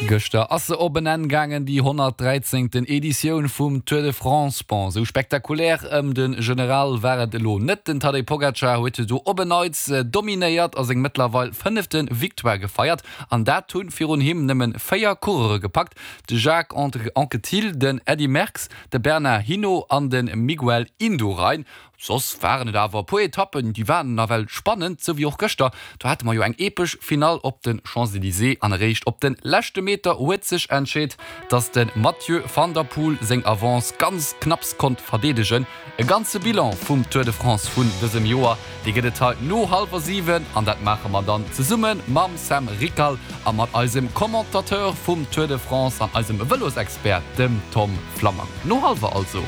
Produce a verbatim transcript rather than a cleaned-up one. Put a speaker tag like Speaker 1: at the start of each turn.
Speaker 1: Gëschter ass se op en Enn gaangen, déi honnertdräizéngten Editioun vum Tour de France. Bon, esou spektakulär ëm de General war et elo net. Den Tadej Pogacar huet do op en Neits dominéiert a seng mëttlerweil fënnefte Victoire gefeiert. An dat hunn virun him nëmmen véier Coureure gepackt, de Jacques Anquetil, den Eddy Merckx, de Bernard Hinault an de Miguel Indurain. Soss waren et awer e puer Etappen, déi waren nawell spannend, sou wéi och gëschter. Do hate mer jo eng epesch Finall op de Champs-Elysées an eréischt op de leschte Meter huet sech entscheet, dass de Mathieu van der Poel seng Avance ganz knapps konnt verdeedegen. E ganze Bilan vum Tour de France vun dësem Joer, dee gëtt et hei no hallwer siwen an dat maache mer dann zesumme mam Sam Rickal a mat eisem Commentateur vum Tour de France an eisem Vëlosexpert, dem Tom Flammang. No hallwer also.